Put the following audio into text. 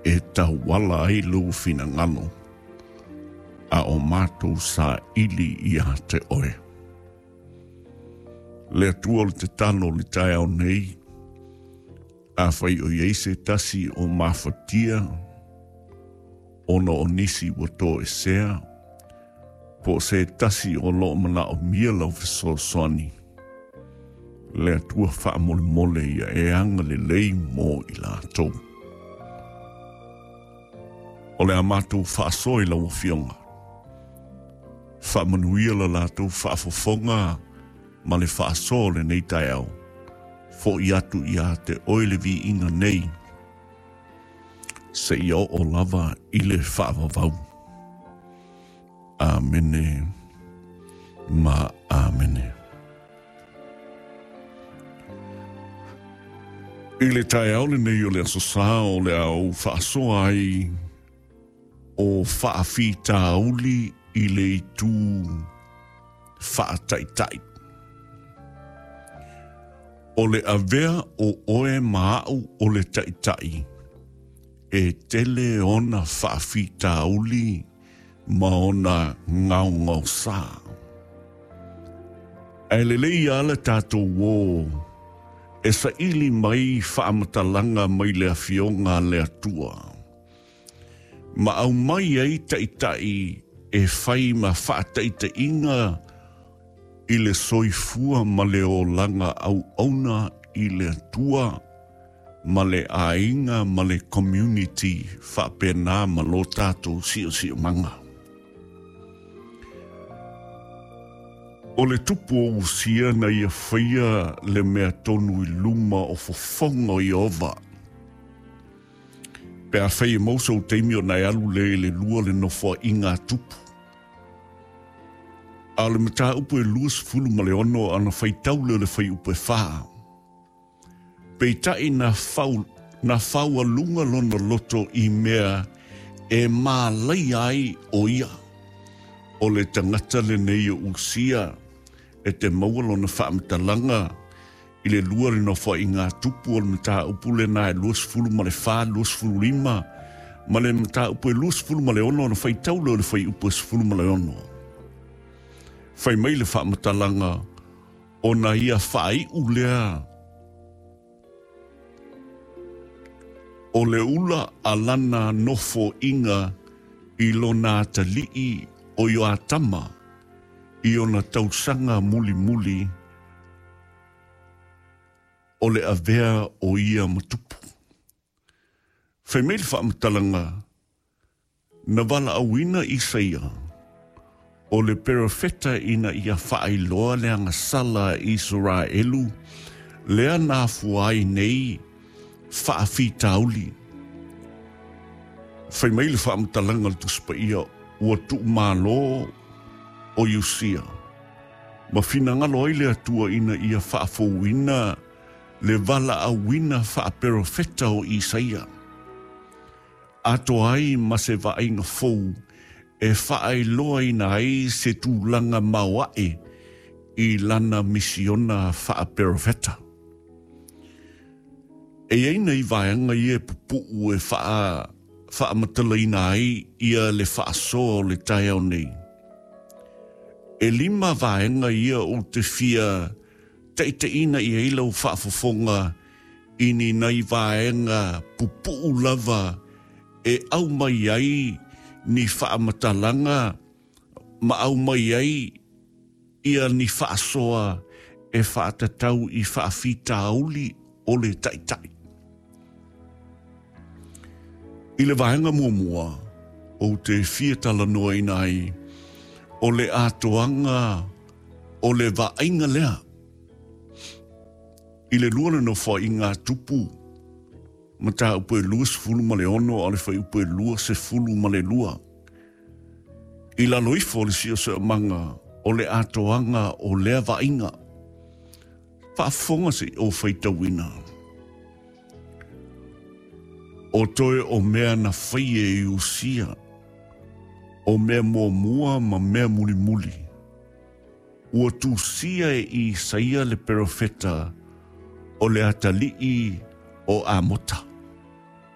e tauala ai lou finagalo, a o matou saili ia te oe. Le Atua o le tatalo i le taeao nei, afai o i ai se tasi o mafatia ona o nisi ua toesea, po o se tasi o lo o manaomia lau fesoasoani, le Atua faamolemole ia e agalelei mo i latou. O le a matou faasoa i lau Afioga. Faamanuia la latou faafofoga ma le faasoa o lenei taeao. Fo'i atu ia te oe le viiga nei, seia oo lava i le faavavau. Amene ma amene. I le taeao lenei o le Aso Sa o le a ou faasoa ai o faafitauli i le itu faataitai. O le avea o oe ma a'u o le taitai e tele ona faafitauli ma ona gaogaosa. Ae lelei lava le tatou o e saili mai faamatalaga mai le Afioga a le Atua, ma aumai ai taitai e fai ma faataitaiga i le soifua ma le olaga auauna i le Atua ma le aiga ma le community faapena ma lo tatou siosiomaga. O le tupu o Usia na ia faia le mea tonu i luma o fofoga o Ieova. Pe afai e maua sou taimi ona e alu lea i le lua le nofoaiga a tupu. A o le mataupu e 26 ana faitau lea o le fuaiupu e 4. Peitai na fau, na faualuga lona loto i mea e mālaia ai ʻo ia. O le tagata lenei o Usia e te maua lona faamatalaga i le lua le nofoaiga tupu o le mataupu lena e 24, 25 ma le mataupu e 26 ona faitau lea o le fuaiupu e 16. Fai mai le faamatalaga ona ia faaiu lea o le ula a lana nofoaiga i lona atalii o Ioatama i ona tausaga mulimuli o le avea o ia ma tupu. Fai mai le faamatalaga, Na valaauina Isaia, o le perofeta ina ia faailoa le agasala a Isaraelu lea na afua ai nei faafitauli. Fai mai le faamatalaga a le Tusi Paia, ua tuumalo ʻo Iosia, ma finagalo ai le Atua ina ia faafouina le valaauina faaperofeta o Isaia, atoa ai ma se vaaiga fou e faailoaina ai se tulaga maoaʻe i lana misiona faaperofeta. E i ai nei vaega ia e pupuʻu e faamatalaina ai ia le faasoa o le taeao nei. E lima vaega ia ou te fia taitaiina i ai lau faafofoga i ni nai vaega pupuʻu lava e aumai ai ni faamatalaga ma aumai ai ia ni faasoa e faatatau i faafitauli o le taitai. I le vaega muamua, ou te fia talanoaina ai o le atoaga o le vaaiga lea i le lua le nofoaiga a Tupu, mataupu e 26 a o le fuaiupu e 22. I lalo ifo o le siosiomaga o le atoaga o lea vaaiga. Faafofoga se i ou faitauina. O toe o mea na fai e Iosia, o mea muamua ma mea mulimuli, ua tusia e Isaia le perofeta o le atalii o Amota.